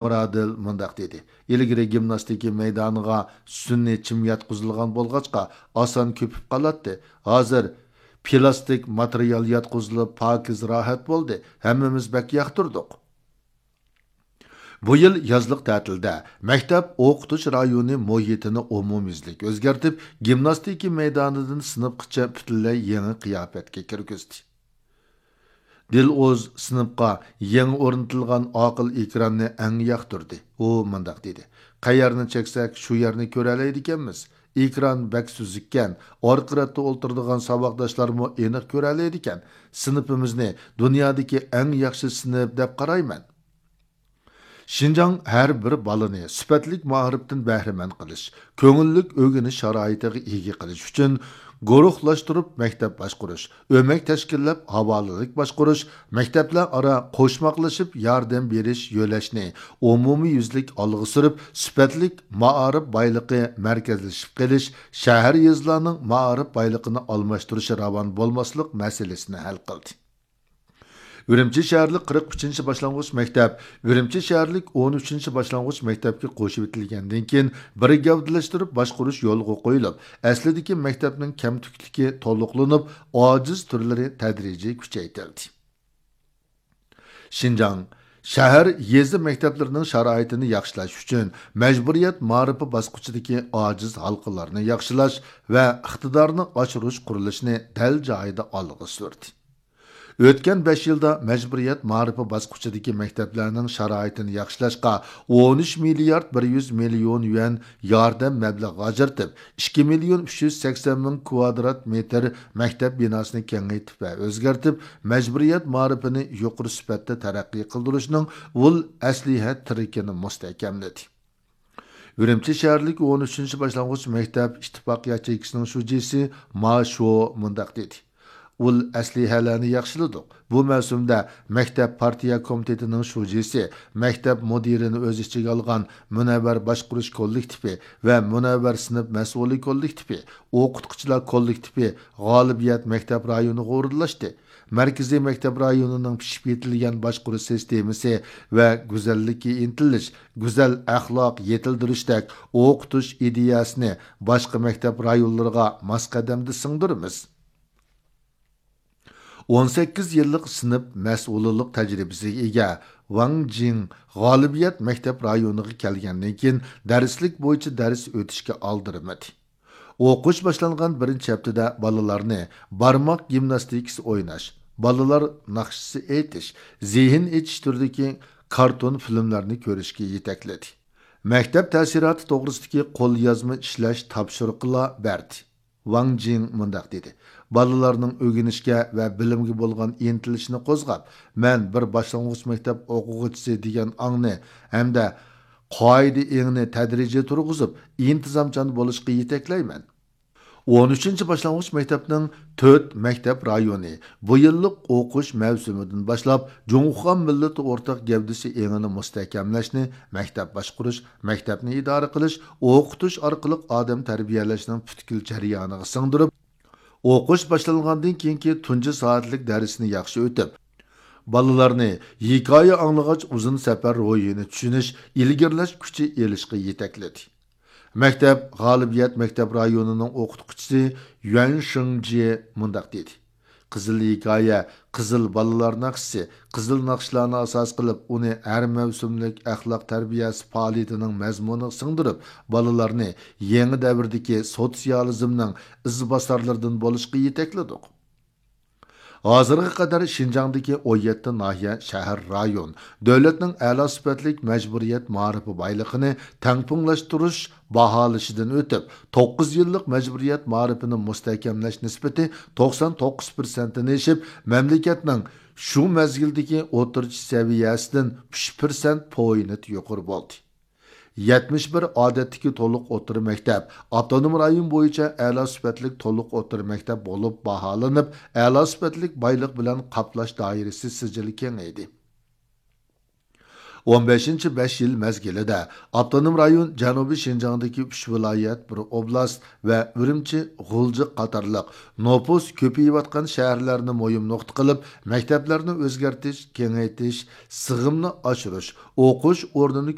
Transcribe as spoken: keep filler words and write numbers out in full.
مۇرادىل مۇنداق دېدى: «ئىلگىرى گىمناستىكا مەيدانىغا سۈنئىي چىم ياتقۇزۇلغان بولغاچقا، ئاسان كۆپۈپ قالاتتى. ھازىر پىلاستىك ماتېرىيال ياتقۇزۇلۇپ، پاكىز، راھەت بولدى. ھەممىمىز بەك ياقتۇردۇق.» بۇ يىل يازلىق تەتىلدە مەكتەپ ئوقۇتۇش رايونى مۇھىتىنى ئومۇميۈزلۈك ئۆزگەرتىپ، گىمناستىكا مەيدانىدىن سىنىپقىچە پۈتۈنلەي يېڭى قىياپەتكە كىرگۈزدى. دىلئۇز سىنىپقا يېڭى ئورنىتىلغان ئاقىل ئېكراننى ئەڭ ياقتۇردى. ئۇ مۇنداق دېدى: «قەيەرنى چەكسەك، شۇ يەرنى كۆرەلەيدىكەنمىز. ئېكران بەك سۈزۈككەن، ئارقا رەتتە ئولتۇرىدىغان ساۋاقداشلارمۇ ئېنىق كۆرەلەيدىكەن. سىنىپىمىزنى دۇنيادىكى ئەڭ ياخشى سىنىپ دەپ قارايمەن.» شىنجاڭ ھەر بىر بالىنى سۈپەتلىك مائارىپتىن بەھرىمەن قىلىش، كۆڭۈللۈك ئۆگىنىش شارائىتىغا ئىگە قىلىش ئۈچۈن، گۇرۇھلاشتۇرۇپ مەكتەپ باشقۇرۇش، ئۆمەك تەشكىللەپ ھاۋالىلىك باشقۇرۇش، مەكتەپلەر ئارا قوشماقلىشىپ ياردەم بېرىش يۆلەشنى ئومۇميۈزلۈك ئالغا سۈرۈپ، سۈپەتلىك مائارىپ بايلىقى مەركەزلىشىپ قېلىش، شەھەر، يېزىلارنىڭ مائارىپ بايلىقىنى ئالماشتۇرۇشى راۋان بولماسلىق مەسىلىسىنى ھەل قىلدى. ئۈرۈمچى شەھەرلىك قىرىق ئۈچىنچى باشلانغۇچ مەكتەپ ئۈرۈمچى شەھەرلىك ئون ئۈچىنچى باشلانغۇچ مەكتەپكە قوشۇۋېتىلگەندىن كېيىن، بىر گەۋدىلەشتۈرۈپ باشقۇرۇش يولغا قويۇلۇپ، ئەسلىدىكى مەكتەپنىڭ كەمتۈكلۈكى تولۇقلىنىپ، ئاجىز تۈرلىرى تەدرىجىي كۈچەيتىلدى. شىنجاڭ شەھەر، يېزا مەكتەپلىرىنىڭ شارائىتىنى ياخشىلاش ئۈچۈن، مەجبۇرىيەت مائارىپى باسقۇچىدىكى ئاجىز ھالقىلارنى ياخشىلاش ۋە ئىقتىدارنى ئاشۇرۇش قۇرۇلۇشىنى دەل جايىدا ئالغا سۈردى. ئۆتكەن بەش يىلدا مەجبۇرىيەت مائارىپى باسقۇچىدىكى مەكتەپلەرنىڭ شارائىتىنى ياخشىلاشقا ئون ئۈچ مىليارد بىر يۈز مىليون يۈەن ياردەم مەبلىغى ئاجرىتىپ، ئىككى مىليون ئۈچ يۈز سەكسەن مىڭ كۋادرات مېتىر مەكتەپ بىناسىنى كېڭەيتىپ ۋە ئۆزگەرتىپ، مەجبۇرىيەت مائارىپىنى يۇقىرى سۈپەتتە تەرەققىي قىلدۇرۇشنىڭ ئۇل ئەسلىھە تىرىكىنى مۇستەھكەملىدى. ئۈرۈمچى شەھەرلىك ئون ئۈچىنچى باشلانغۇچ مەكتەپ ئىتتىپاق ياچېيكىسىنىڭ شۇجىسى ما شو مۇنداق دېدى: «ئۇل ئەسلىھەلەرنى ياخشىلىدۇق. بۇ مەۋسۇمدە مەكتەپ پارتىيە كومىتېتىنىڭ شۇجىسى، مەكتەپ مۇدىرىنى ئۆز ئىچىگە ئالغان مۇنەۋۋەر باشقۇرۇش كوللېكتىپى ۋە مۇنەۋۋەر سىنىپ مەسئۇلى كوللېكتىپى، ئوقۇتقۇچىلار كوللېكتىپى غالىبىيەت مەكتەپ رايونىغا ئورۇنلاشتى. مەركىزىي مەكتەپ رايونىنىڭ پىشىپ يېتىلگەن باشقۇرۇش سىستېمىسى ۋە گۈزەللىككە ئىنتىلىش، گۈزەل ئەخلاق يېتىلدۈرۈشتەك ئوقۇتۇش ئىدىيەسىنى باشقا مەكتەپ رايونلىرىغا ماس قەدەمدە سىڭدۈرىمىز.» ئون سەككىز يىللىق سىنىپ مەسئۇلىنىڭ تەجرىبىسىگە ئىگە ۋاڭ جىڭ غالىبىيەت مەكتەپ رايونىغا كەلگەندىن كېيىن، دەرسلىك بويىچە دەرس ئۆتۈشكە ئالدىرىمىدى. ئوقۇش باشلانغان بىرىنچى ھەپتىدە بالىلارنى بارماق گىمناستىكىسى ئويناش، بالىلار ناخشىسى ئېيتىش، زېھىن ئېچىش تۈرىدىكى كارتون فىلىملارنى كۆرۈشكە يېتەكلىدى. مەكتەپ تەسىراتى توغرىسىدىكى قوليازما ئىشلەش تاپشۇرۇقىلا بەردى. ۋاڭ جىڭ مۇنداق دېدى: «بالىلارنىڭ ئۆگىنىشكە ۋە بىلىمگە بولغان ئىنتىلىشىنى قوزغاپ، مەن بىر باشلانغۇچ مەكتەپ ئوقۇغۇچىسى دېگەن ئاڭنى ھەمدە قائىدە ئېڭىنى تەدرىجىي تۇرغۇزۇپ، ئىنتىزامچان بولۇشقا يېتەكلەيمەن.» ئون ئۈچىنچى باشلانغۇچ مەكتەپنىڭ تۆت مەكتەپ رايونى بۇ يىللىق ئوقۇش مەۋسۇمىدىن باشلاپ، جۇڭخۇا مىللىتى ئورتاق گەۋدىسى ئېڭىنى مۇستەھكەملەشنى، مەكتەپ باشقۇرۇش، مەكتەپنى ئىدارە قىلىش، ئوقۇتۇش ئارقىلىق ئادەم تەربىيەلەشنىڭ پۈتكۈل جەريانىغا سىڭدۈرۈپ، ئوقۇش باشلانغاندىن كېيىنكى تۇنجى سائەتلىك دەرسنى ياخشى ئۆتۈپ، بالىلارنى ھېكايە ئاڭلىغاچ ئۇزۇن سەپەر روھىنى چۈشىنىش، ئىلگىرىلەش كۈچى ئېلىشقا يېتەكلىدى. مەكتەپ غالىبىيەت مەكتەپ رايونىنىڭ ئوقۇتقۇچىسى يۈەن شېڭجيې مۇنداق دېدى: «قىزىل ھېكايە، قىزىل بالىلار ناخشىسى، قىزىل ناخشىلارنى ئاساس قىلىپ، ئۇنى ھەر مەۋسۇملۇق ئەخلاق تەربىيەسى پائالىيىتىنىڭ مەزمۇنىغا سىڭدۈرۈپ، بالىلارنى يېڭى دەۋردىكى سوتسىيالىزمنىڭ ئىزباسارلىرىدىن بولۇشقا يېتەكلىدۇق.» ھازىرغا قەدەر شىنجاڭدىكى ئون يەتتە ناھىيە، شەھەر، رايون دۆلەتنىڭ ئەلا سۈپەتلىك مەجبۇرىيەت مائارىپى بايلىقىنى تەڭپۇڭلاشتۇرۇش باھالىشىدىن ئۆتۈپ، توققۇز يىللىق مەجبۇرىيەت مائارىپىنى مۇستەھكەملەش نىسبىتى توقسان توققۇز پىرسەنتتىن ئېشىپ، مەملىكەتنىڭ شۇ مەزگىلدىكى ئوتتۇرىچە سەۋىيەسىدىن ئۈچ پىرسەنت پوينت يۇقىرى بولدى. يەتمىش بىر ئادەتتىكى تولۇق ئوتتۇرا مەكتەپ ئاپتونوم رايون بويىچە ئەلا سۈپەتلىك تولۇق ئوتتۇرا مەكتەپ بولۇپ باھالىنىپ، ئەلا سۈپەتلىك بايلىق بىلەن قاپلاش دائىرىسى سىجىل كېڭەيدى. ئون بەشىنچى بەش يىل مەزگىلىدە ئاپتونوم رايون جەنۇبىي شىنجاڭدىكى ئۈچ ۋىلايەت، بىر ئوبلاست ۋە ئۈرۈمچى، غۇلجا قاتارلىق نوپۇس كۆپىيىۋاتقان شەھەرلەرنى مۇھىم نۇقتا قىلىپ، مەكتەپلەرنى ئۆزگەرتىش، كېڭەيتىش، سىغىمنى ئاشۇرۇش، ئوقۇش ئورنىنى